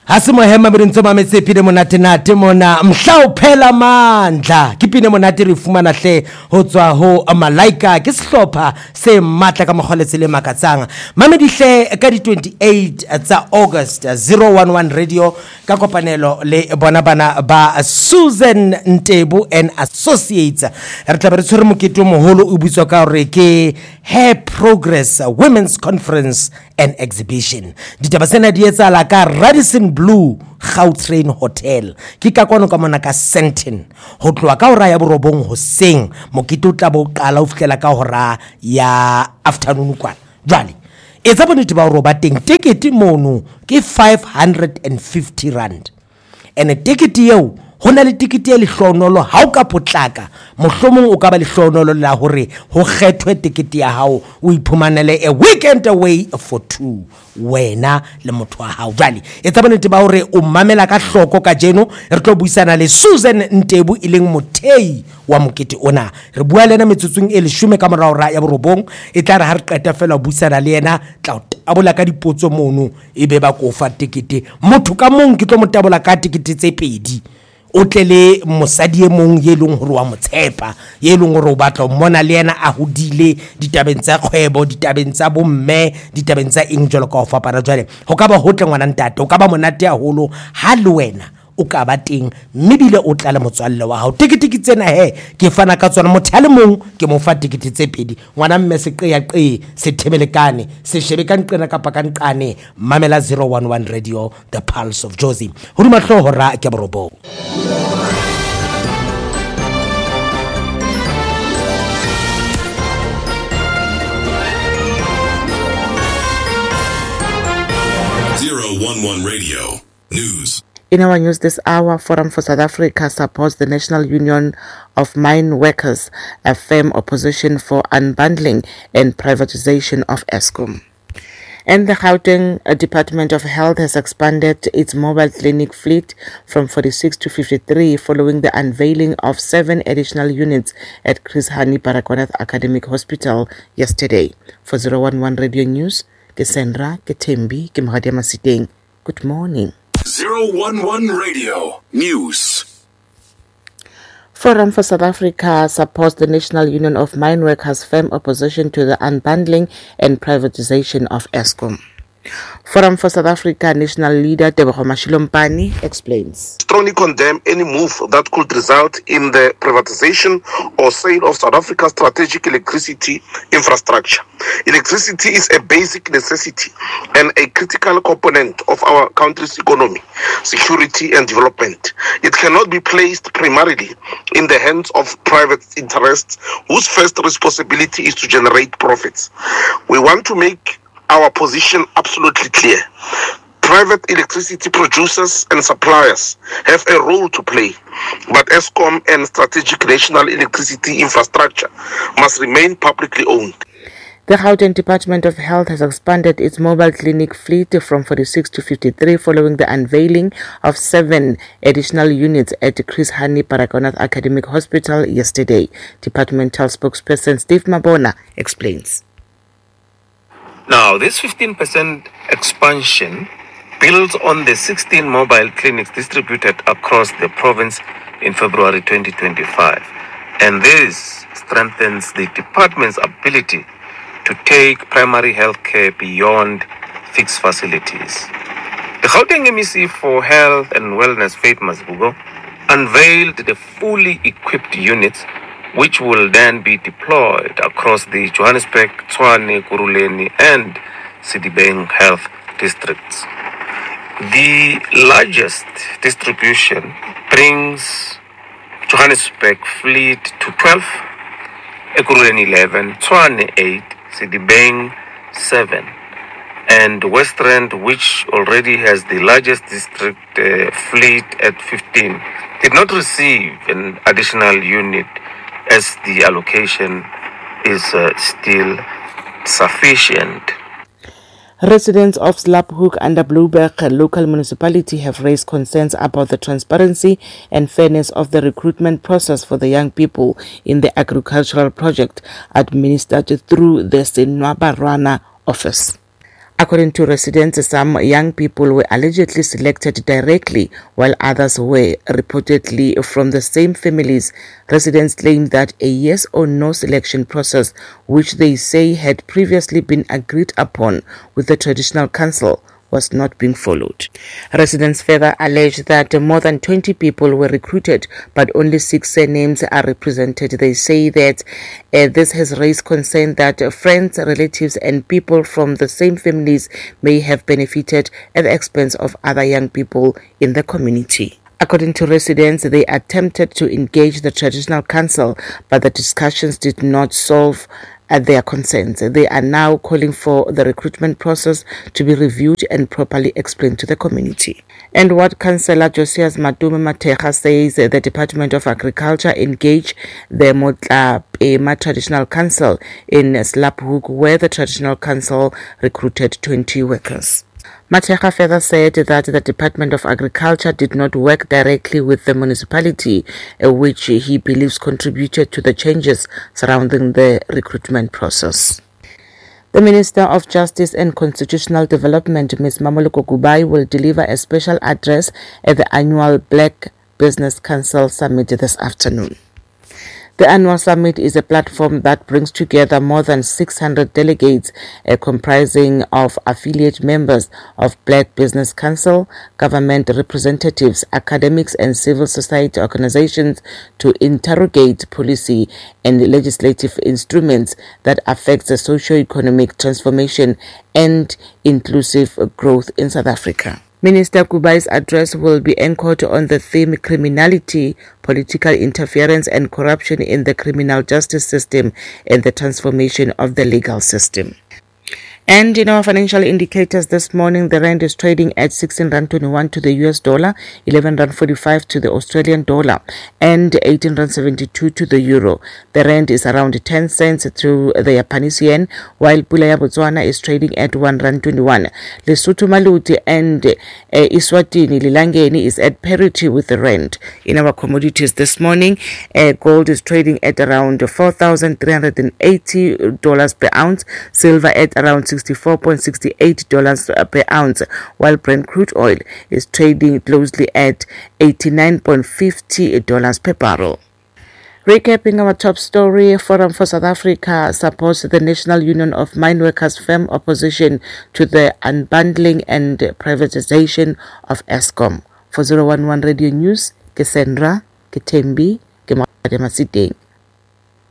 Ga se mohema be ntse mametse pine monatenate mona mhla o phela mandla ke pine monate re fumana hle ho tswa ho Malaika ke sehlopha se matla ka mokgwa le tsela e makatsang mamedihle ka di 28 tsa August 011 Radio ka kopanelo le bona bana ba Susan Ntebu and Associates re tla be re tshwere mokete o moholo o bitswa ka gore ke Hair Progress Women's Conference and Exhibition. Ditaba tsena di etsahala ka Radisson Blu Gautrain Hotel. Ke ka kwano ka mona ka Sandton. Ho tloha ka hora ya borobong hoseng, mokete o tla bo qala ho fihlela ka hora ya afternoon kwana. Jwale, etsa bonnete ba hore o ba teng. Tekete mono ke 550 rand. Ene tekete eo, ho na le tekete e lehlohonolo ha o ka potlaka, mohlomong o ka ba lehlohonolo la hore ho kgethwe tekete ya hao o iphumanele a weekend away for two, wena le motho wa hao. Jwale etsa bonnete ba hore o mamela ka hloko kajeno, re tlo buisana le Susan Ntebu e leng mothei wa mokete ona. Re bua le yena metsotsong e leshome ka mora hora ya borobong, e tla re ha re qeta fela ho buisana le yena, tla o tabola ka dipotso mono. E be ba ko fa tekete motho ka mong ke tlo mo tabola ka tekete tse pedi o tle le mosadi e mong ye leng gore wa mo tshepa ye leng gore o batla o mmona le yena a hodile ditabeng tsa kgwebo ditabeng tsa bomme ditabeng tsa eng jalo ka go fapana jwale go ka ba hotle ngwana ntate o ka ba monate haholo ha le wena o ka ba teng mme bile o tla le motswalle wa gago teketeke tsena he ke fana ka tsona motho a le mong ke mo fa tekete tse pedi ngwana mme seqeaqee sethebelekane se shebe ka nqena kapa ka nqane mamela 011 radio the pulse of jozi hodima hlooho ra ke borobong Zero one one radio news. In our news this hour, Forum for South Africa supports the National Union of Mine Workers, a firm opposition for unbundling and privatization of Eskom. And the Gauteng Department of Health has expanded its mobile clinic fleet from 46 to 53 following the unveiling of seven additional units at Chris Hani Baragwanath Academic Hospital yesterday. For 011 Radio News, ke Sandra, ke Thembi, ke Mogadia Masiteng. Good morning. 011 Radio News. Forum for South Africa supports the National Union of Mine Workers' firm opposition to the unbundling and privatization of Eskom. Forum for South Africa national leader Tebogo Mashilompane explains. Strongly condemn any move that could result in the privatization or sale of South Africa's strategic electricity infrastructure. Electricity is a basic necessity and a critical component of our country's economy, security and development. It cannot be placed primarily in the hands of private interests whose first responsibility is to generate profits. We want to make our position absolutely clear. Private electricity producers and suppliers have a role to play, but Eskom and strategic national electricity infrastructure must remain publicly owned. The Gauteng Department of Health has expanded its mobile clinic fleet from 46 to 53 following the unveiling of seven additional units at Chris Hani Baragwanath Academic Hospital yesterday. Departmental spokesperson Steve Mabona explains. Now, this 15% expansion builds on the 16 mobile clinics distributed across the province in February 2025. And this strengthens the department's ability to take primary health care beyond fixed facilities. The Gauteng MEC for Health and Wellness, Faith Mazibuko, unveiled the fully equipped units which will then be deployed across the Johannesburg, Tshwane, Ekurhuleni and Sedibeng health districts. The largest distribution brings Johannesburg fleet to 12, Ekurhuleni 11, Tshwane 8, Sedibeng 7, and West Rand, which already has the largest district uh, fleet at 15, did not receive an additional unit as the allocation is uh, still sufficient. Residents of Slaphook under Blouberg local municipality have raised concerns about the transparency and fairness of the recruitment process for the young people in the agricultural project administered through the Senwabarwana office. According to residents, some young people were allegedly selected directly, while others were reportedly from the same families. Residents claim that a yes or no selection process, which they say had previously been agreed upon with the traditional council, was not being followed. Residents further allege that more than 20 people were recruited, but only six surnames are represented. They say that uh, this has raised concern that friends, relatives, and people from the same families may have benefited at the expense of other young people in the community. According to residents, they attempted to engage the traditional council, but the discussions did not solve at their concerns. They are now calling for the recruitment process to be reviewed and properly explained to the community. And what Councillor Josias Matume Mateja says the Department of Agriculture engaged the Motlapema Traditional Council in Slaphook, where the Traditional Council recruited 20 workers. Mateja further said that the Department of Agriculture did not work directly with the municipality, uh, which he believes contributed to the changes surrounding the recruitment process. The Minister of Justice and Constitutional Development, Ms. Mmamoloko Kubayi, will deliver a special address at the annual Black Business Council Summit this afternoon. The annual summit is a platform that brings together more than 600 delegates uh, comprising of affiliate members of Black Business Council, government representatives, academics and civil society organizations to interrogate policy and legislative instruments that affect the socio-economic transformation and inclusive growth in South Africa. Minister Kubayi's address will be anchored on the theme criminality, political interference and corruption in the criminal justice system and the transformation of the legal system. And in our financial indicators this morning, the rand is trading at 16 rand 21 to the US dollar, 11 rand 45 to the Australian dollar, and 18 rand 72 to the euro. The rand is around 10 cents to the Japanese yen, while Pula ya Botswana is trading at 1 rand 21. Lesotho Maluti and uh, Eswatini Lilangeni is at parity with the rand. In our commodities this morning, uh, gold is trading at around $4,380 per ounce, silver at around $64.68 per ounce, while Brent crude oil is trading closely at $89.50 per barrel. Recapping our top story, Forum for South Africa supports the National Union of Mineworkers' firm opposition to the unbundling and privatization of Eskom. For 011 Radio News, ke Sandra, ke Thembi, ke Masiteng.